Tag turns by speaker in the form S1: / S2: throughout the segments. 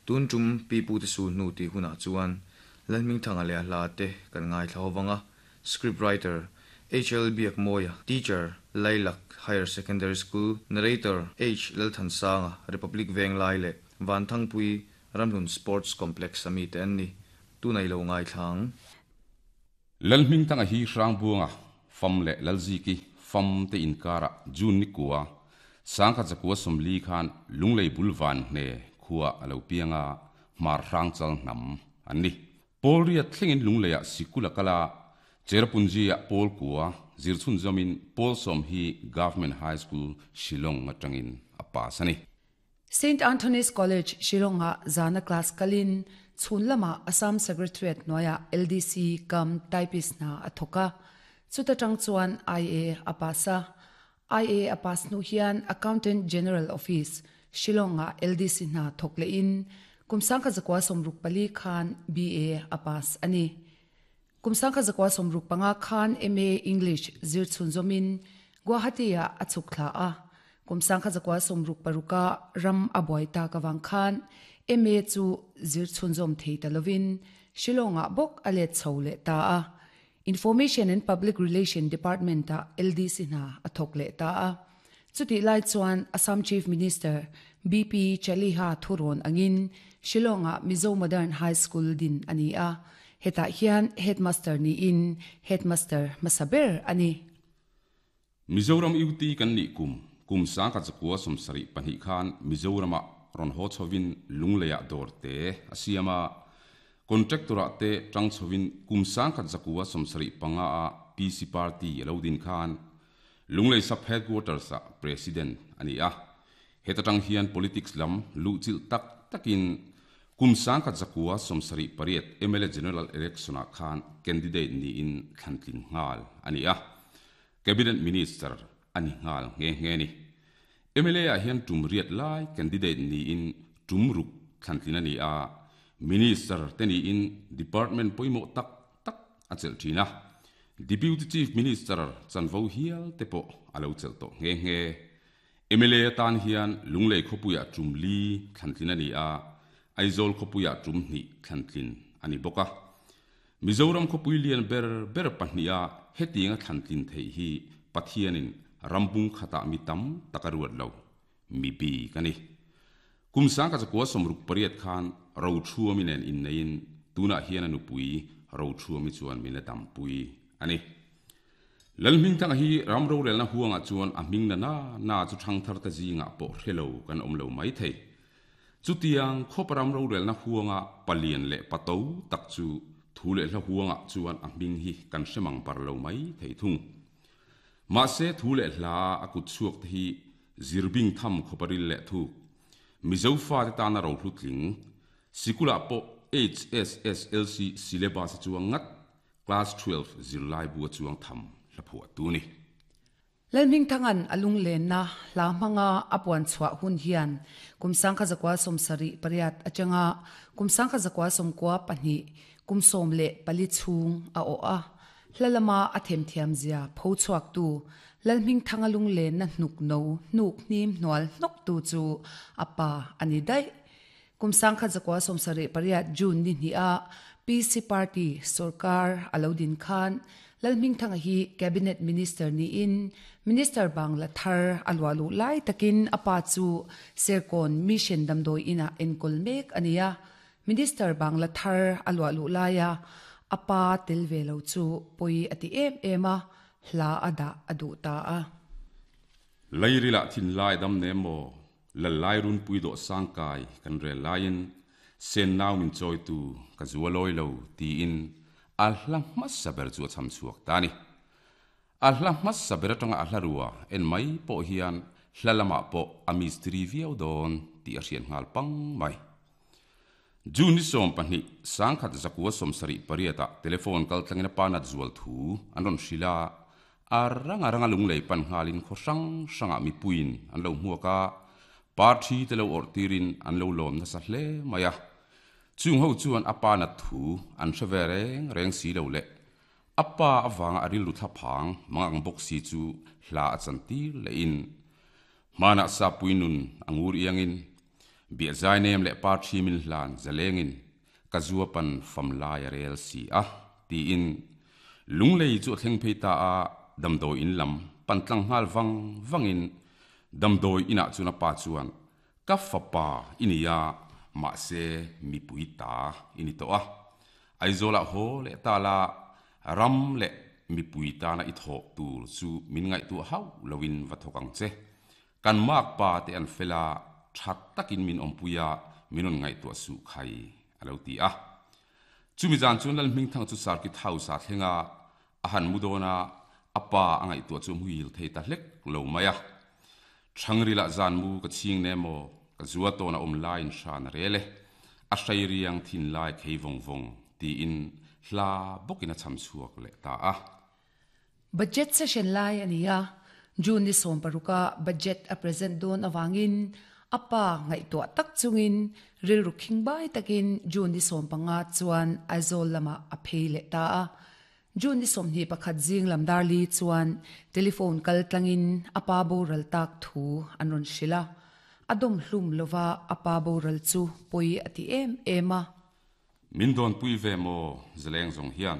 S1: Tun tum Pipute Sulhnu tih hunah chuan Lalhmingthanga leh a hla te kan ngaithla ho vang a, Script writer, HL Biakmawia, Teacher, Lailak Higher Secondary School, Narrator, H Lalthansanga, Republic Venglai leh Vanthangpui Ramhlun Sports Complex a mite an ni. Tunah i lo ngaithla ang.
S2: Lalhmingthanga hi Hrangbuanga fam leh Lalziki fam te inkarah June ni kua, Sangkhat zakua 40 khan Lunglei bul van hne khua a lo piang a, Hmar Hrangchal hnam an ni. Pawl riat thlengin Lungleiah sikul a kal a, Cherrapunji-ah pawl kua zir chhunzawmin pawl 10 hi Government High School, Shillong atangin a pass a ni.
S3: Saint Anthony's College, Shillong-ah zana class kalin chhun lamah Assam Secretariat hnuaiah LDC kam typist hna a thawk a. Chuta tang chuan IA a pass a. IA a pass hnu hian Accountant General Office, Shillong-ah LDC hna thawk lehin kum 1964 khan BA a pass a ni. Kum 1965 khan MA English zir chhunzawmin Guwahati-ah a chhuk thla a. Kum 1966 ah ram a buai tak avang khan MA chu zir chhunzawm thei ta lovin Shillong-ah bawk a let chho leh ta a. Information and Public Relation Department-ah LDC hna a thawk leh ta a. Chutih lai chuan Assam Chief Minister BP Chaliha thurawn angin Shillong-ah Mizo Modern High School din a ni a, hetah hian Headmaster niin Headmaster hmasa ber a ni.
S2: Mizoram UT kan nih kum, kum 1972 khan Mizoramah rawn haw chhovin Lungleiah dawr te a siam a, Contractor-ah te tang chhovin kum 1975 ah PC Party a lo din khan Lunglei Sub Headquarters-ah President a ni a. Heta tang hian politics lam luhchilh tak takin kum 1978 mla General Election-ah khan candidate niin thlantlin nghal a ni a. Cabinet Minister a ni nghal nghe nghe a ni. MLA-ah hian tum riat lai candidate niin tum ruk thlantlin a ni a. Minister te niin department pawimawh tak tak a chelh thin a. Deputy Chief Minister chanvo hial te pawh a lo chelh tawh nghe nghe. Mla atan hian Lunglei khawpuiah tum li thlantlin a ni a, Aizawl khawpuiah tum hnih thlantlin a ni bawk a. Mizoram khawpui lian ber ber pahniha hetianga thlantlin theih hi Pathianin rambung khatah mi tam tak a ruat lo, mi bik a ni. Kum 1968 khan Rothuami nen inneiin tunah hian a nupui Rothuami chuan min la dampui a ni. Lalhmingthanga hi ram rorelna huangah chuan a hming na na na chu thangtharte zingah pawh hre lo kan awm lo mai thei. Chutiang khawpa ram rorelna huanga palian leh pato tak chu thu leh hla huangah chuan a hming hi kan hre mang bar lo mai thei thung. Mahse thu leh hla a kut chhuak te hi zirbing tham khawpa ril leh thuk. Mizo fate tana rohlu tling, sikulah pawh HSSLC syllabus a chuang ngat, Class 12 zirlai bu a chuang tham hla phuah tu ni.
S3: Lalhmingthanga'n a lunglenna hla hmanga a puan chhuah hun hian kum 1978 atanga kum 1992 kum 14 chhung a awh a. Hla lama a themthiam zia pho chhuaktu Lalhmingthanga lunglenna hnuk no hnuk hnim hnual hnawktu chu a pa a ni daih. Kum 1978 June ni hnih a PC Party sorkar a lo din khan Lalhmingthanga hi Cabinet Minister niin Minister bangla thar a luah luh lai takin a pa chu Serkawn Mission damdawi inah enkawl mek a ni a. Minister bangla thar a luah luh laia a pa tel ve lo chu pawi a ti em em a, hla a dah a duh ta a.
S2: Leirilah thinlai dam nem maw? Lallai runpui dawh sangkai kan rel laiin sen nau min chawitu ka zu a lawi lo tiin a hla hmasa ber chu a cham chhuak ta a ni. A hla hmasa ber atanga a hla rua en mai pawh hian hla lamah pawh a mistiri viau dawn tih a hriat nghal pang mai. June ni 12, 1978 ah telephone kal tlangin a pa nat zual thu an rawn hrilh a, a ranga ranga lunglei pan nghalin khaw hrang hrangah mipuiin an lo hmuak a, parthi te lo awrh tirin an lo lawm nasa hle mai a. Chung ho chuan a pa nat thu an hre ve reng reng si lo leh a pa avanga a rilru thla phang mang ang bawk si chu hla a chan tir lehin hmanah sapui nun a ngur iangin. Biahzai nem leh par thi min hlan zalengin ka zua pan fam lai a rel si a, tiin Lunglei chu a thleng phei ta a, damdawi in lam pan tlang nghal vang vangin damdawi inah chuan a pa chuan Ka fapa i ni a, mahse mipui ta i ni tawh a. Aizawlah haw leh ta la, ram leh mipui tana i thawh tur chu min ngaihtuah hauh loin va thawk ang che. Kan makpa te an fel a, tha takin min awmpui a, min rawn ngaihtuah suh khai, a lo ti a. Chumi zan chuan Lalhmingthang chu Circuit House-ah thleng a, a han mu dawn a, a pa a ngaihtuah chu a hmuhil thei ta hlek lo mai a. Thangrilah zan mu ka chhing ne maw, ka zua tawn a awm laiin hran a rel e, a hrei riang thin lai khei vawng vawng, tiin hla bawkin a cham chhuak leh ta a.
S3: Budget session lai a ni a, June ni sawmparuka budget a present dawn avangin a pa ngaihtuah tak chungin rilru khingbai takin June ni sawmpanga chuan Aizawl lamah a phei leh ta a. June ni 21 zing lam darli chuan telephone kal tlangin a pa boral tak thu an rawn hrilh a. A dawm hlum lova a pa boral chu pawi a ti em em a.
S2: Min dawnpui ve maw zaleng zawng hian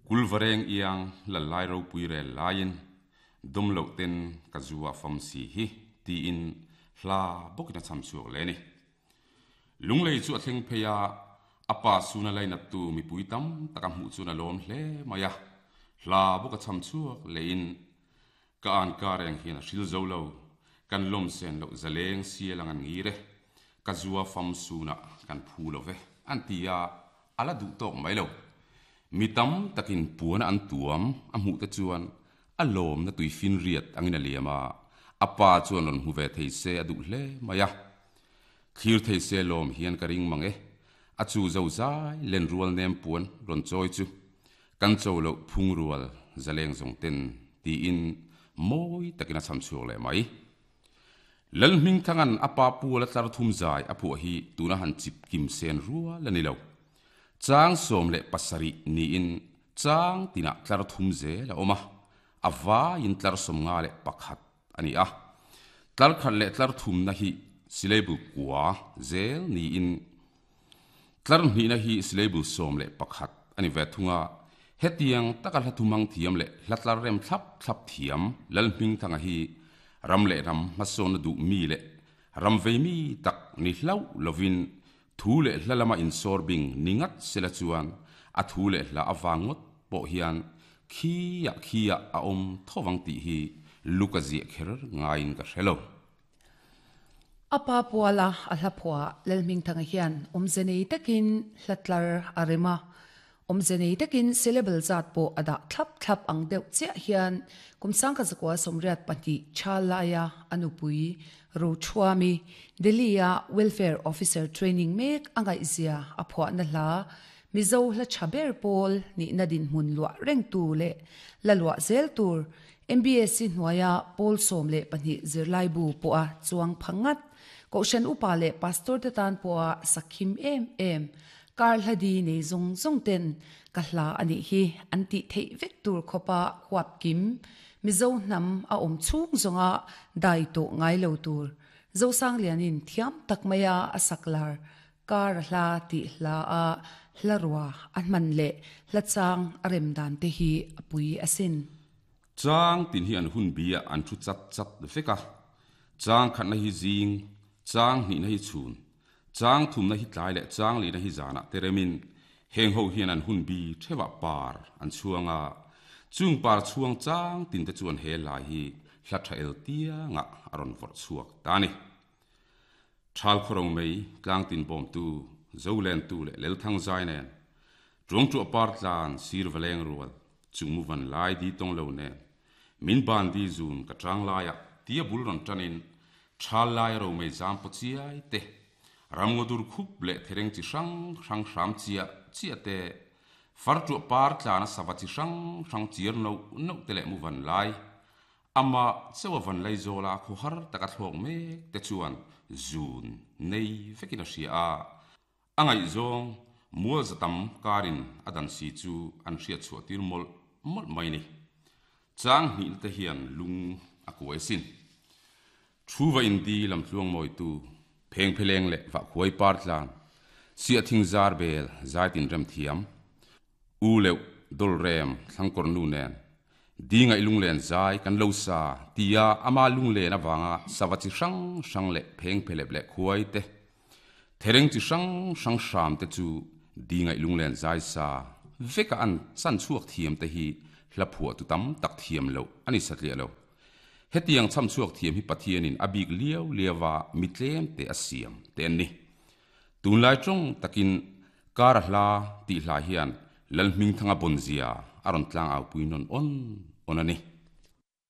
S2: Kulvareng iang lal lai ropui rel laiin dawm loh ten ka zu a fam si hi tiin hla bawkin a cham chhuak leh a ni. Lunglei chu a thleng phei a, a pa suna lainattu mipui tam tak a hmuh chuan a lawm hle mai a, hla bawk a cham chhuak lehin ka an ka reng hian a hril zo lo, kan lawm sen loh zaleng sial ang an ngir e, ka zua fam sunah kan phu lo ve an ti a, a la duh tawk mai lo. Mi tam takin puana an tuam a hmuh te chuan a lawmna tui finriat angin a liam a, a pa chuan rawn hmu ve thei se a duh hle mai a. Thlir thei se lawm hian ka ring mang e, a chu zo zai len rual nem puan rawn chawi chu kan cho loh phung rual zaleng zawng ten tiin mawi takin a cham chhuak leh mai. Lalhmingthanga'n a pa pual a tlar thum zai a phuah hi tuna han chip kim sen rual a ni lo. Chang 17 niin chang tinah tlar thum zel a awm a, a vaiin tlar 51 a ni a. Tlar khat leh tlar thumna hi syllable kua zel niin tlar hnihna hi syllable 11 a ni ve thung a. Hetiang taka hla thumang thiam leh hla tlar rem thlap thlap thiam Lalhmingthanga hi ram leh ram hmasawnna duh mi leh ram vei mi tak ni hlauh lovin thu leh hla lama insawr bing ni ngat sela chuan a thu leh hla avang ngawt pawh hian khiah khiah a awm thovang tih hi Luka ziah kher ngaiin ka hre lo.
S3: A pa puala a hla phuah Lalhmingthanga hian awmze nei takin hla tlar a rem a, awmze nei takin syllable zat pawh a dah thlap thlap ang deuh chiah hian kum 1982 tha laia a nupui Rochhuami Delhi-a Welfare Officer training mek a ngaihzia a phuahna hla Mizo hla tha ber pawl nihna dinhmun luah rengtu leh la luah zel tur MBSC hnuaia pawl 12 zirlaibu pawha chuang pha ngat, Kohhran upa leh pastor te tan pawha sakhim em em, kar hla di nei zawng zawng ten ka hla a nih hi an tih theih vek tur khawpa huap kim, Mizo hnam a awm chhung zawnga dai tawh ngai lo tur, Zosanglianin thiam tak maia a sak lar Kar a hla tih hla a hla rua a hman leh hla chang a rem dan te hi a pui asin.
S2: Chang tin hi an hun bi ah an thu chat chat vek a, chang khatna hi zing, chang hnihna hi chhun, chang thumna hi tlai leh chang lihna hi zanah te remin heng ho hian an hun bi theuhah par an chhuang a, chung par chhuang chang tin te chuan he lai hi hla tha el tiangah a rawn vawrh chhuak ta a ni. Thal khawro mai tlangtin bawmtu, Zolentu leh Lelthang zai nen, Tuangtuah par tlan sir va leng rual, chung mu van lai di tawng lo nen, min ban di zun ka tang laiah tia bul rawn tanin, thal lai ro mai zam paw chiai te, ramngaw dur khup leh thereng chi hrang hrang hram chiah chiah te, fartuah par tlana sava chi hrang hrang chiar noh noh te leh mu van lai, Amah chauh a van lei zawla khawhar taka thlawk mek te chuan zun nei vekin a hria a, a ngaihzawng mual za tam karin a dan si chu an hriat chhuah tir mawlh mawlh mai ni. Chang hnihna te hian lung a kuai sin. Thu va indi lamtluang mawitu. Phengpheleng leh Vahkhuai par tlan, Siahthing zar bel zaitin rem thiam, U leuh dawlrem thlangkawr nu nen, Dingaih lunglen zai kan lo sa tia ama lunglen avanga sava chi hrang hrang leh phengphelep leh khuai te, thereng chi hrang hrang hram te chu Dingaih lunglen zai sa veka an chan chhuak thiam te hi hla phuah tu tam tak thiam loh a ni satliah lo. Hetiang chham chhuak thiam hi Pathianin a bik liau liau a mi tlem te a siam te an ni. Tunlai tawng takin Kar a hla tih hla hian Lalhmingthanga bawnzia a rawn tlang au pui nawn awn awn a ni.